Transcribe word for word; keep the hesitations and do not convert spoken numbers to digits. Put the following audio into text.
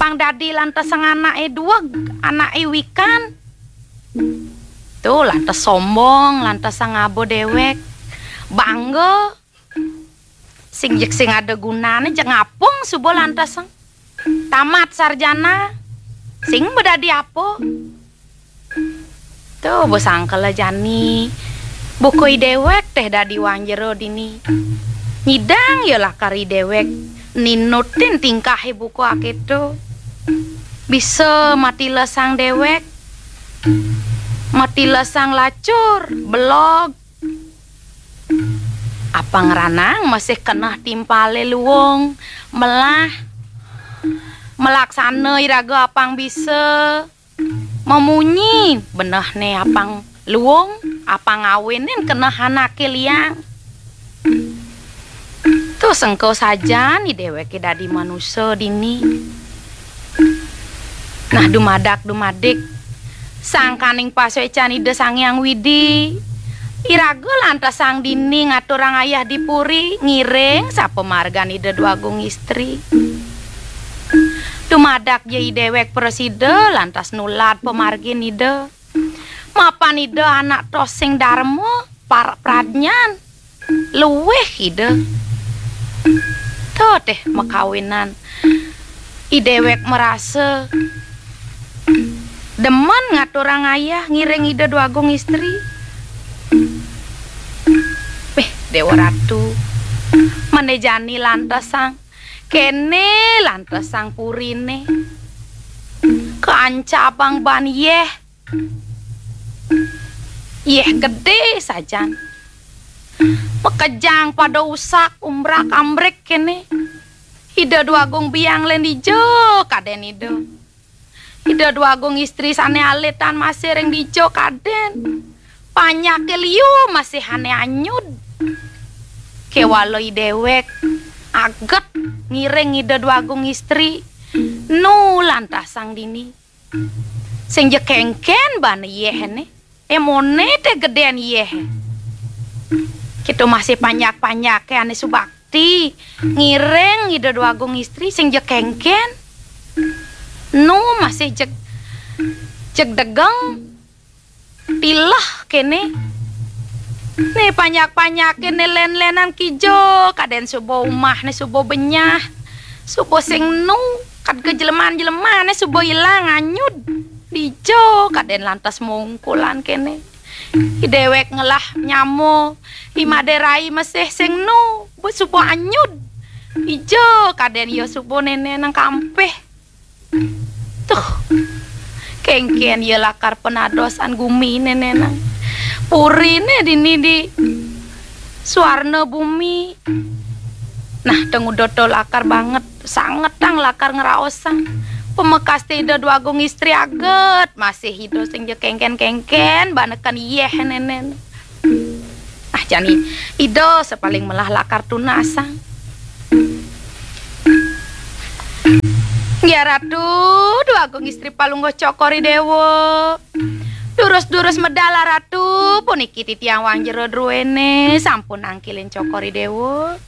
Pang dadi lantesang anake dueg, anake wikan. Tuh, lantes sombong, lantesang ngaba dewek. Bangga. Sing jeg sing ada gunane, jeg ngapung suba lantesang. Tamat sarjana. Sing ba dadi apa? Tuh, ba sangkela jani. Buka i dewek teh dadi wang jero dini. Nyidang ya lakar i dewek ninutin tingkahe buka aketo. Bisa matilesang dewek. Matilesang lacur, belog. Apang ranang masih keneh timpale luung, melah. Melaksana iraga apang bisa. Mamunyi, benehne apang luung, apang awenen keneh anake liang. Tuh sengko sajan i deweke dadi manusa dini. Nah, dumadak dumadik, sangkaning pasuecan Ida Sang Hyang Widi, iraga lantesang dini ngaturang ayah di puri, ngiring sapamargan Ida Dwagung Istri. Dumadak ja i dewek prasida lantas nulad pamargin Ida. Mapan Ida anak tosing darma, par-, pradnyan, luwih Ida. Tuh teh makawinan. I dewek marasa demen ngaturang ayah ngiring Ida Dwagung Istri. Weh, Dewa Ratu, mene jani lantesang, kene lantesang purine. Kancabang ban yeh. Yeh gede sajan. Makejang pada usak, umbrak-ambrik kene. Ida Dwagung Biang len dija kaden Ida. Ida Dwagung Istri sane alit tan masih ring dija kaden. Panyake liu masih ane anyud. Kewala i dewek aget ngiring Ida Dwagung Istri. Nu lantesang dini. Sing ja kengken bana yehne. Emone te geden yeh. Kita masih panjak-panjake ane subakti. Ngiring Ida Dwagung Istri sing ja kengken. Nu masih jeg, jeg degeng. Tilah kene. Ne panjak-panjake ne len-lenan kija, kaden suba umah ne suba benyah. Suba sing nu, kad kejeleman-jelemane suba ilang anyud. Dija kaden lantas mungkulan kene. I dewek ngelah nyama, i made rai masih sing nu, ba suba anyud. Dija kaden ya suba nene nang kampeh. Tuh, kengken ya lakar penadosan gumi nene nang. Purine dini di suarna bumi. Nah, teng udah to lakar banget, sanget tang lakar ngraosang. Pamekaste Ida Dwagung Istri aget, masih Ida sing ja kengken-kengken, baneken yeh nenen. Ah, jani Ida sapaling melah lakar tunasang. Nggih, Ratu, Dwagung Istri Palungguh Cokor I Dewa. Durus-durus medal, Ratu, puniki titiang wang jero druene sampun angkilin Cokor I Dewa.